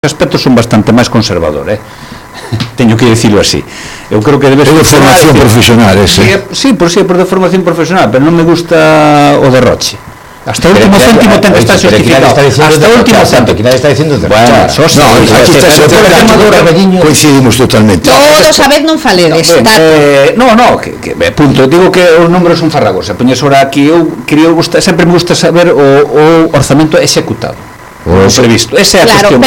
aspectos son bastante máis conservador, teño que dicilo así. Eu creo que debe ser de formación profesional ese. Sí, por de formación profesional, pero non me gusta o derroche. Hasta o último céntimo ten que estar justificado. Hasta o último céntimo, que nadie está diciendo derrochar. No, aquí está coincidimos totalmente. Todos a vez non faledes. No, que punto, digo que os números son farragosos. Poñes ahora aquí, eu sempre me gusta saber o orzamento executado. O previsto, esa é a cuestión.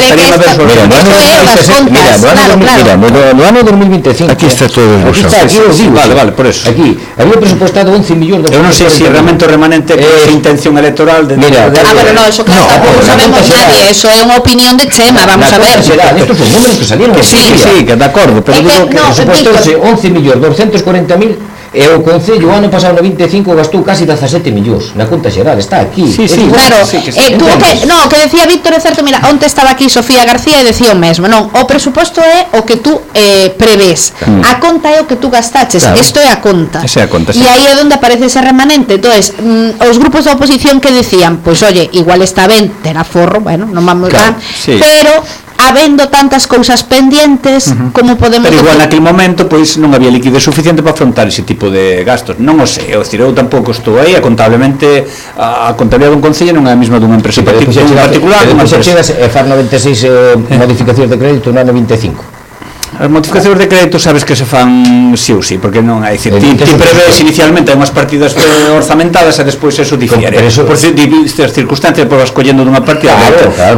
No ano 2025 aquí está todo vale, por eso aquí había presupuestado 11 millóns de eu non sei se realmente o remanente é intención electoral de pero no, eso claro, tampouco sabemos nadie, eso é unha opinión de Chema, vamos a ver. Estos son números que salieron. Sí, que de acordo, pero digo que presupuestouse 11.240.000 e o Concello o ano pasado no 25 gastou casi 17 millóns na conta xeral, está aquí. Claro, que decía Víctor é certo, mira, onte estaba aquí Sofía García e decía o mesmo, non, o presuposto é o que tú prevés, a conta é o que tú gastaches, isto é a conta. E aí é onde aparece ese remanente. Entonces, os grupos da oposición que decían, pois oye, igual está ben ter aforro, bueno, non vamos ben, pero habendo tantas cousas pendientes, como podemos... Pero igual naquele momento, pois non había liquidez suficiente para afrontar ese tipo de gastos. Non o sei, eu tampouco estou aí, contablemente, a contabilidade dun concello non é a mesma dunha empresa particular. Depois chegas e faz 96 modificacións de crédito no ano 25. As modificacións de crédito sabes que se fan sí ou sí, porque non hai, ti prevés inicialmente unhas partidas orzamentadas e despois eso difiere por circunstancias, por vas collendo dunha partida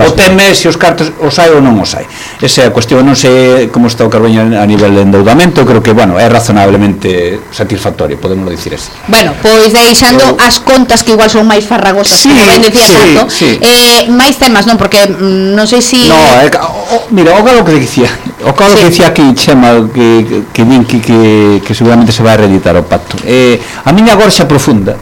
o teme se os cartos os hai ou non os hai. Esa é a cuestión. Non sei como está o Carballo a nivel de endeudamento, creo que, bueno, é razonablemente satisfactorio, podemos dicir así. Bueno, pois deixando as contas que igual son máis farragosas, como ben decía Santo, máis temas, non? Porque non sei se... Mira, o que dicía aquí Chema, que din que seguramente se vai a reeditar o pacto, a miña gorxa profunda,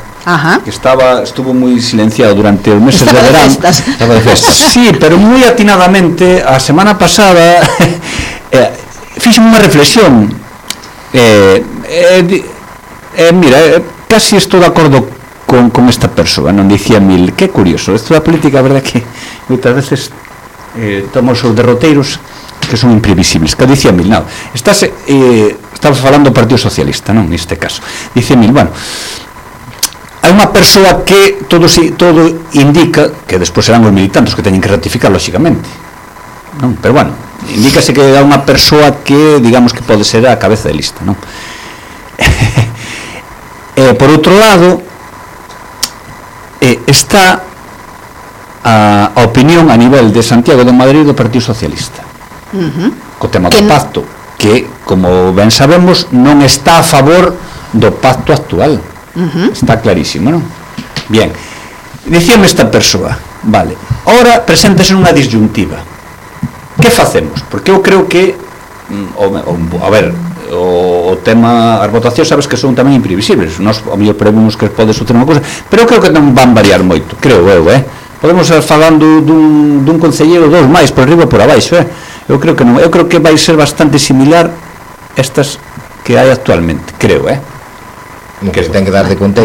que estuvo moi silenciado durante os meses de verán, estaba de festas. Sí, pero moi atinadamente a semana pasada fixen unha reflexión, mira, casi estou de acordo con esta persoa, non dicía Mil, que curioso, isto da política, a verdade que moitas veces tomamos os derroteiros que son imprevisibles, que dicía Mil, non, estamos falando do Partido Socialista, non, neste caso, dicía Mil, bueno, hai unha persoa que todo indica, que despois serán os militantes que teñen que ratificar, lóxicamente, non, pero bueno, indícase que hai unha persoa que, digamos, que pode ser a cabeza de lista, non? Por outro lado, está a opinión a nivel de Santiago de Madrid do Partido Socialista, co tema do pacto, que, como ben sabemos, non está a favor do pacto actual. Está clarísimo, non? Bien, dicíame esta persoa, vale, ora preséntase unha disyuntiva, que facemos? Porque eu creo que a ver, o tema, as votacións sabes que son tamén imprevisibles, nós ao mellor prevemos que pode suceder unha cousa, pero eu creo que non van variar moito, creo eu, podemos estar falando dun concelleiro, dos máis, por arriba e por abaixo, eu creo que non, eu creo que vai ser bastante similar estas que hai actualmente, creo, que se ten que dar de conta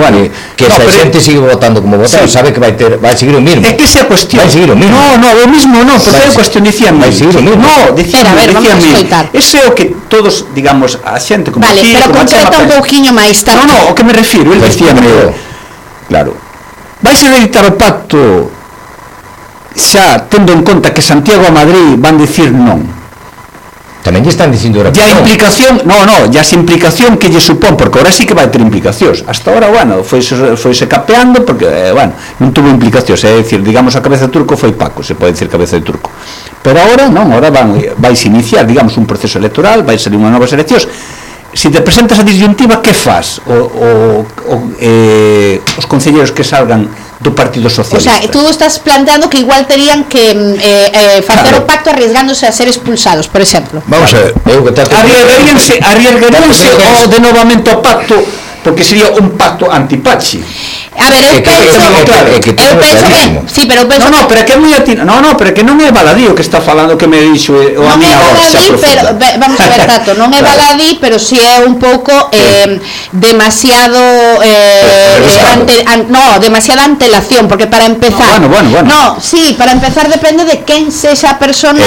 que se a xente sigue votando como vota, sabe que vai seguir o mismo. É que esa cuestión. Vai seguir o mismo. O mismo non, porque é cuestión, dicían vai seguir o mismo. Ese é o que todos, digamos, a xente como vale, pero concreta un pouquiño máis tarde. O que me refiro, el dicíame, claro, vais a editar o pacto xa tendo en conta que Santiago a Madrid van dicir non. Tamén lle están dicindo ya implicación, ya esa implicación que lle supón, porque ahora sí que vai ter implicacións. Hasta ahora, bueno, foise capeando porque, bueno, non tuvo implicacións, é dicir, digamos, a cabeza de turco foi Paco, se pode dicir cabeza de turco. Pero ahora non, ahora vais iniciar, digamos, un proceso electoral, vai salir unha novas eleccións. Se te presentas a disyuntiva, que faz os concelleiros que salgan do Partido Socialista? O sea, tú estás planteando que igual terían que facer o pacto arriesgándose a ser expulsados, por exemplo. Vamos a ver, arriesgaríanse o de novamente o pacto, porque sería un pacto anti-Pachi. A ver, eu penso que sí, pero eu penso pero que é moi pero que non é baladí o que está falando que me dixo o a miña voz. Pero vamos a ver, Tato, non é baladí, pero si é un pouco demasiado demasiada antelación, porque para empezar para empezar depende de quen sexa a persona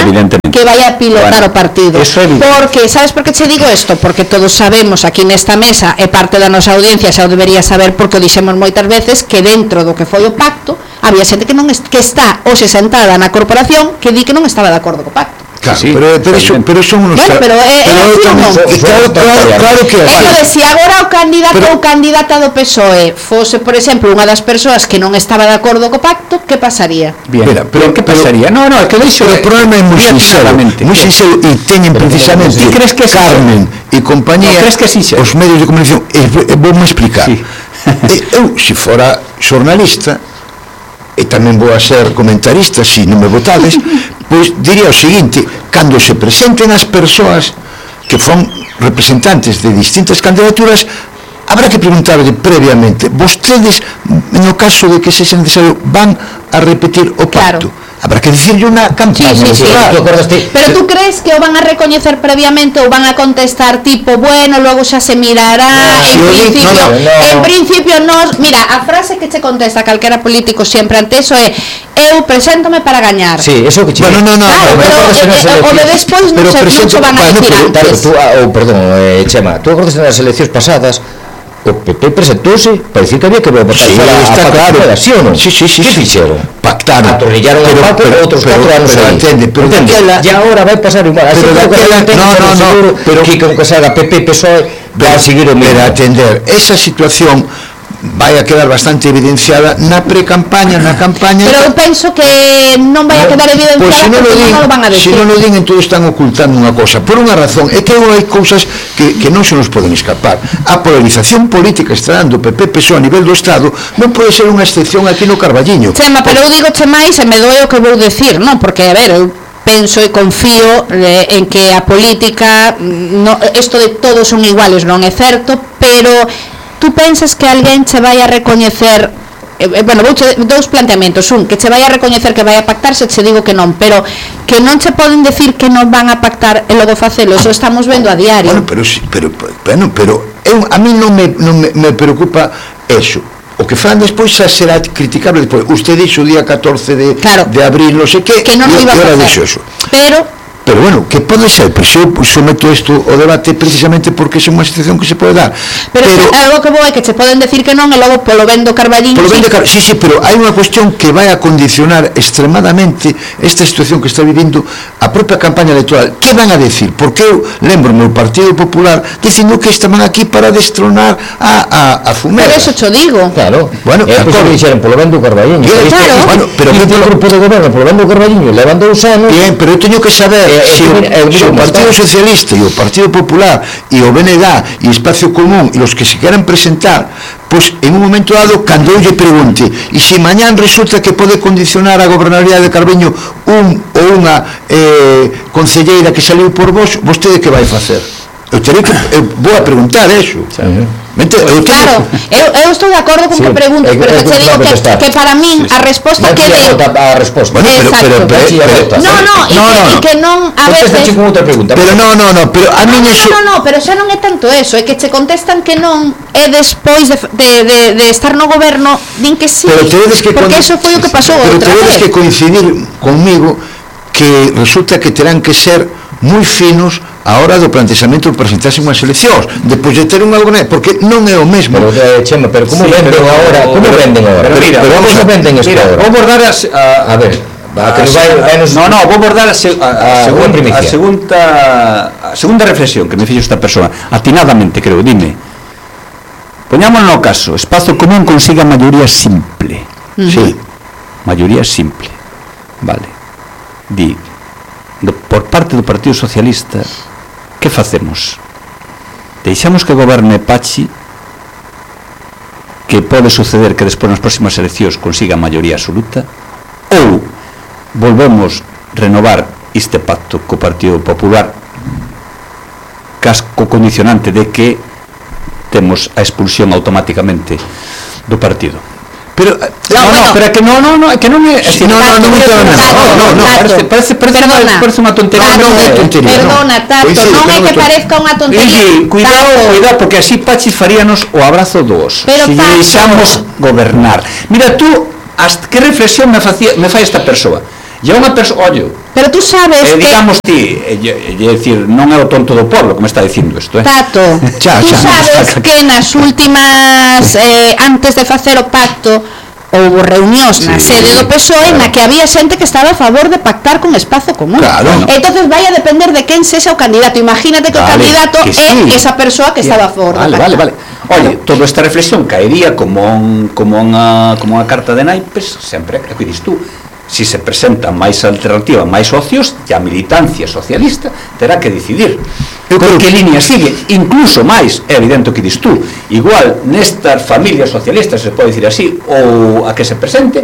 que vaya a pilotar o partido. Porque, sabes por que che digo isto? Porque todos sabemos aquí nesta mesa, e parte da nosa audiencia xa o debería saber porque o dixemos moitas veces, que dentro do que foi o pacto había xente que está hoxe sentada na corporación que di que non estaba de acordo co pacto. Claro, sí, pero son unos claro que entonces, se agora o candidato ou candidata do PSOE fose, por exemplo, unha das persoas que non estaba de acordo co pacto, que pasaría? Bien, pero que pasaría? É que deixo o problema é moi sincero e teñen precisamente Carmen e compañía os medios de comunicación, vou-me explicar. Eu, se fora xornalista e tamén vou a ser comentarista se non me votades, pois diría o seguinte: cando se presenten as persoas que fon representantes de distintas candidaturas, habrá que preguntarle previamente: vostedes, no caso de que sexa necesario, van a repetir o pacto? Habrá que decirle unha campaña. Pero tú crees que o van a recoñecer previamente ou van a contestar tipo, bueno, luego xa se mirará, en principio nos, mira, a frase que che contesta calquera político sempre ante eso é: eu preséntome para gañar. Sí, eso que che. Bueno, o de despois non se van a decir antes. Perdón, Chema, tú acordas nas eleccións pasadas o PP presentouse para decir que había que votar está claro, ¿sí o non? Sí. Que fixeron? Pactaron. Atornillaron o pacto outros 4 anos aí. E agora vai pasar igual. Pero que con que salga PP, PSOE vai a seguir o mesmo. Pero atender esa situación vai a quedar bastante evidenciada na pre-campaña, na campaña. Pero eu penso que non vai a quedar evidenciada porque non o van a decir. Se non o din, entón están ocultando unha cosa. Por unha razón, é que hai cousas que non se nos poden escapar. A polarización política está dando PP-PSOE a nivel do Estado non pode ser unha excepción aquí no Carballiño. Chema, pero eu digo máis e me doe o que vou decir, non? Porque, a ver, eu penso e confío en que a política, isto de todos son iguales non é certo, pero tú pensas que alguén che vai a recoñecer, bueno, dous planteamentos: un, que che vai a recoñecer que vai a pactar, se che digo que non, pero que non che poden decir que non van a pactar e logo facelo, eso estamos vendo a diario. Pero a mí non me preocupa eso. O que fan despois xa será criticable despois. Usted dixo o día 14 de abril, non sei que non o iba a facer. Pero bueno, que pode ser, pois eu someto isto ao debate precisamente porque é unha situación que se pode dar. Pero algo que vou é que che poden decir que non e logo polo vendo Carballiño. Sí, pero hai unha cuestión que vai a condicionar extremadamente esta situación que está vivindo a propia campaña electoral. Que van a decir? Porque eu lembro no Partido Popular dicindo que estaban aquí para destronar a Fumera. Pero eso cho digo. Claro. Bueno, é que dixeron polo vendo Carballiño. Claro. Pero que polo grupo de goberno polo vendo Carballiño levan 2 anos. Bien, pero eu teño que saber se o Partido Socialista e o Partido Popular e o BNG e Espacio Común e os que se queran presentar, pois en un momento dado, cando eu lle pregunte e se mañán resulta que pode condicionar a gobernabilidade de Carballiño un ou unha concelleira que saliu por vos, vostede que vai facer? Eu vou a preguntar eso. Claro, eu estou de acordo con que preguntes, pero que te digo que para min a resposta que deu a resposta. E que non a veces pero pero a min eso pero xa non é tanto eso, é que che contestan que non e despois de estar no goberno din que sí, porque eso foi o que pasou outra vez. Pero tedes que coincidir conmigo que resulta que terán que ser moi finos a hora do plantexamento de presentarse unhas eleccións depois de ter un algo, porque non é o mesmo. Chema, pero como venden agora? Como venden agora? Pero vamos a venden isto agora. Vou abordar a ver, vou abordar a segunda reflexión que me fixo esta persoa atinadamente, creo. Dime, poñámonos no caso, Espazo Común consiga maioría simple. Sí, maioría simple. Vale. Por parte do Partido Socialista, que facemos? Deixamos que goberne Pachi, que pode suceder que despois nas próximas eleccións consiga a maioría absoluta, ou volvemos renovar este pacto co Partido Popular, casco condicionante de que temos a expulsión automáticamente do partido. Pero pero é que non é parece unha tontería. Perdona, Tato, non é que parezca unha tontería. Cuidado, porque así Pachis faríanos o abrazo dos. Se deixamos gobernar. Mira, tú, que reflexión me fai esta persoa. E unha persoa, ollo, pero tú sabes que digamos ti, é dicir, non é o tonto do pueblo como está dicindo isto, Tato, tú sabes que nas últimas antes de facer o pacto houve reunións na sede do PSOE na que había xente que estaba a favor de pactar con Espazo Común. Entonces vai a depender de quen sexa o candidato. Imagínate que o candidato é esa persoa que estaba a favor de pactar. Vale. Oye, toda esta reflexión caería como unha carta de naipes, sempre que dices tú. Si se presenta máis alternativa, máis socios, e a militancia socialista terá que decidir por que línea sigue. Incluso máis, é evidente o que dis tú, igual nestas familias socialistas, se pode dicir así, ou a que se presente,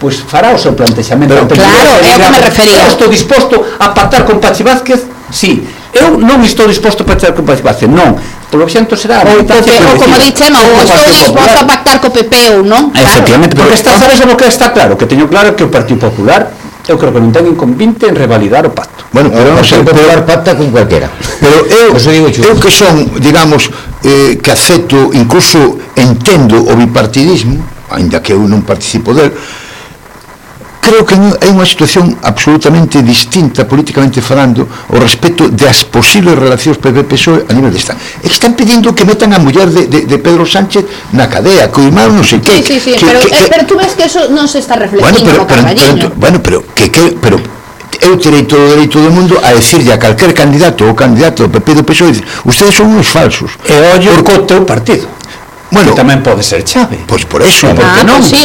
pois fará o seu plantexamento. Claro, é o que me refería. Eu estou disposto a pactar con Pachi Vázquez, sí. Eu non estou disposto a pactar con Pachi Vázquez, non. Polo xento será ou como dixe, non, estou disposto a pactar co PP ou non. Efectivamente, porque sabes o que está claro, que teño claro que o Partido Popular, eu creo que non ten inconvinte en revalidar o pacto. Bueno, pero non sei, Popular pacta con cualquera. Pero eu que son, digamos, que acepto, incluso entendo o bipartidismo, ainda que eu non participo del, creo que é unha situación absolutamente distinta políticamente falando ao respecto das posibles relacións PP-PSOE a nivel de Estado. É que están pedindo que metan a muller de Pedro Sánchez na cadea, co irmão non sei que. Sí, pero tú ves que eso non se está reflexionando no Carballiño. Pero eu terei todo o dereito do mundo a decirlle a calquer candidato ou candidato do PP do PSOE, ustedes son uns falsos. E ollo co teu partido. Bueno, que tamén pode ser chave. Pois por eso, porque non. Sí,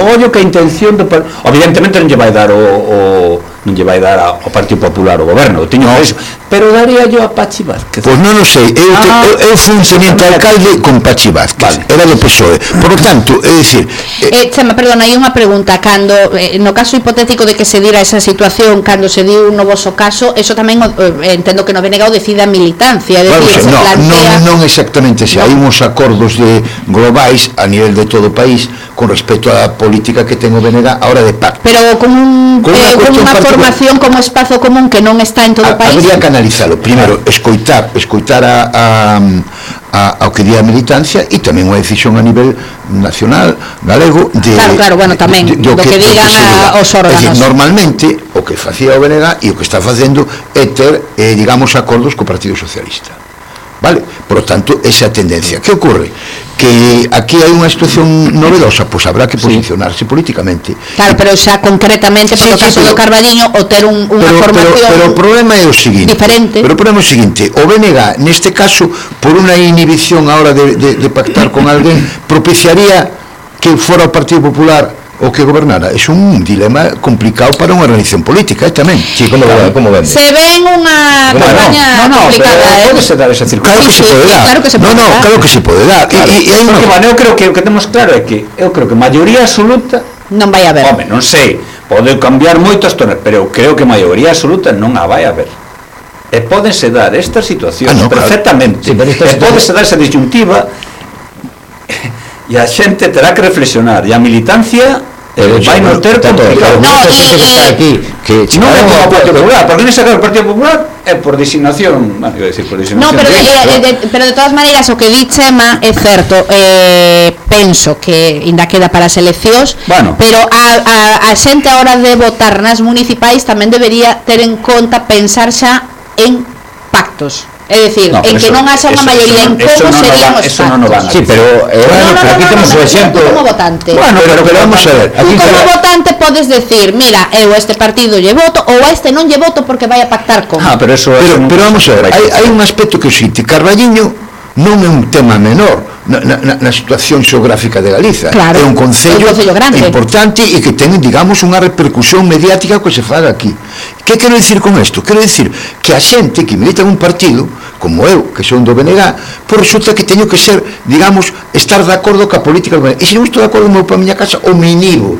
ollo que a intención do evidentemente non lle vai dar ao Partido Popular o goberno, teño eso, pero daría yo a Pachi Vázquez. Pois non o sei, eu fui un teniente alcalde con Pachi Vázquez, era do PSOE. Por lo tanto, é dicir, Chema, perdona, hai unha pregunta, cando no caso hipotético de que se dira esa situación, cando se diu un novoso caso, eso tamén entendo que no BNG decide a militancia, non exactamente, se hai uns acordos globais a nivel de todo o país con respecto á política que ten o BNG a hora de pacto. Pero con unha formación como Espazo Común que non está en todo o país. Habría que analizalo, primeiro escoitar ao que di a militancia e tamén unha decisión a nivel nacional, galego claro, bueno, tamén do que digan os órganos. Normalmente o que facía o BNG e o que está facendo é ter, digamos, acordos co Partido Socialista. Vale? Por lo tanto, esa tendencia. Que ocurre? Que aquí hai unha situación novedosa, pois habrá que posicionarse políticamente. Claro, pero xa concretamente, por o caso do Carballiño, o ter unha formación pero o problema é o seguinte. Diferente. Pero o problema é o seguinte, o BNG, neste caso, por unha inhibición a hora de pactar con alguén, propiciaría que fora o Partido Popular o que gobernara. É un dilema complicado para unha organización política, tamén. Sí, como vemos. Se ven unha campaña complicada. Pode se dar esa circunstancia. Claro que se pode dar. Claro que se pode dar. Eu creo que o que temos claro é que maioría absoluta non vai haber. Home, non sei, pode cambiar moitas tonas, pero eu creo que maioría absoluta non a vai haber. E pódense dar estas situacións perfectamente. E pódense dar esa disyuntiva e a xente terá que reflexionar, e a militancia vai non ter complicado. Non é como o Partido Popular, porque nese caso o Partido Popular é por designación, pero de todas maneiras o que di Chema é certo, penso que ainda queda para as eleccións, pero a xente a hora de votar nas municipais tamén debería ter en conta pensar xa en pactos. É dicir, en que non haxa unha maioría en como serían os pactos. Sí, pero aquí temos o exemplo como votante. Bueno, pero vamos a ver. Tú como votante podes decir, mira, eu a este partido lle voto ou a este non lle voto porque vai a pactar con. Pero vamos a ver, hai un aspecto que o xinte, Carballiño non é un tema menor na situación xeográfica de Galiza. Claro, é un concello importante e que ten, digamos, unha repercusión mediática que se faga aquí. Que quero dicir con isto? Quero dicir que a xente que milita en un partido como eu, que son do BNG, pois resulta que teño que ser, digamos, estar de acordo ca política do BNG. E se non estou de acordo, meu para a miña casa, o me inhibo.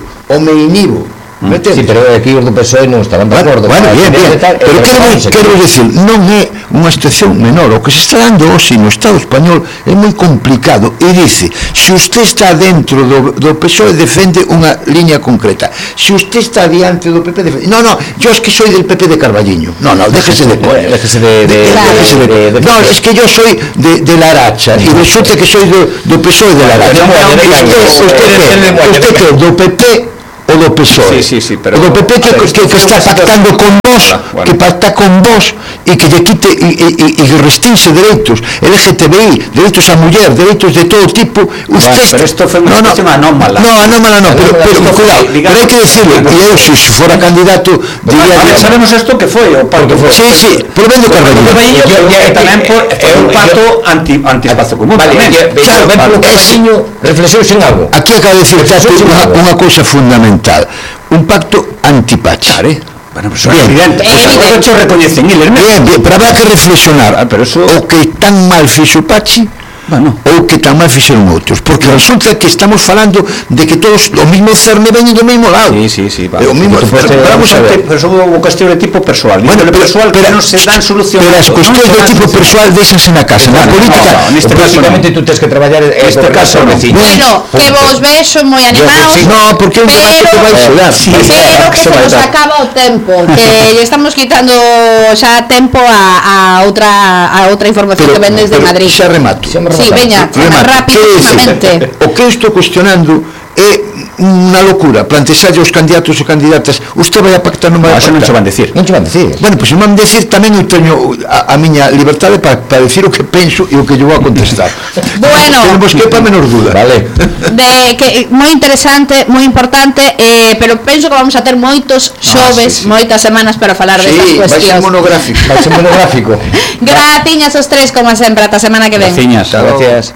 Sí, pero aquí os do PSOE non estaban de acordo. Bueno, bien, pero quero dicir, non é unha situación menor. O que se está dando hoxe no Estado español é moi complicado e dice, se usted está dentro do PSOE defende unha liña concreta, se usted está diante do PP defende... No, yo es que soy del PP de Carballiño. No, déjese de coña. No, es que yo soy de la Aracha e resulta que soy do PSOE de la Aracha. Usted que do PP o do PSOE, o do PP que está pactando con vos, que pacta con vos e que lle quite e restringe dereitos LGTBI, dereitos a muller, dereitos de todo tipo. Pero isto foi unha situación anómala. Anómala non, pero cuidado, pero hai que decirlo, e eu se fora candidato diría... Sabemos isto que foi o pacto. Sí, por ben do Carballiño. E tamén foi un pacto anti-espazo común. Claro, ben polo Carballiño, reflexión sen algo. Aquí acaba de decir unha cousa fundamental, un pacto anti-Pachi. Bueno, pues é evidente, hecho recoñecen eles. Bien, pero habrá que reflexionar o que tan mal fixo Pachi ou que tan mal fixeron outros, porque resulta que estamos falando de que todos o mismo cerne veñen do mesmo lado. Sí, o mismo, pero son unha cuestión de tipo persoal. Bueno, persoal que non se dan solución. Pero as cuestións de tipo persoal deixanse na casa, na política. Básicamente tú tens que traballar neste caso no veciño. Bueno, que vos vexo moi animados. No, porque un debate que vai xudar. Pero que se nos acaba o tempo, que lle estamos quitando xa tempo a outra información que ven desde Madrid. Xa remato. Sí, veña, rapidamente. O que estou cuestionando é unha locura plantexarlle aos candidatos e candidatas, usted vai a pactar, non vai a pactar. Non se van decir. Bueno, pois non van decir, tamén eu teño a miña liberdade para decir o que penso e o que lle vou a contestar. Bueno, tenemos que para menor duda. Vale. De que moi interesante, moi importante, pero penso que vamos a ter moitos xoves, moitas semanas para falar destas cuestións. Vai ser monográfico. Gratiñas os tres, como sempre, ata semana que ven. Graciñas. Gracias.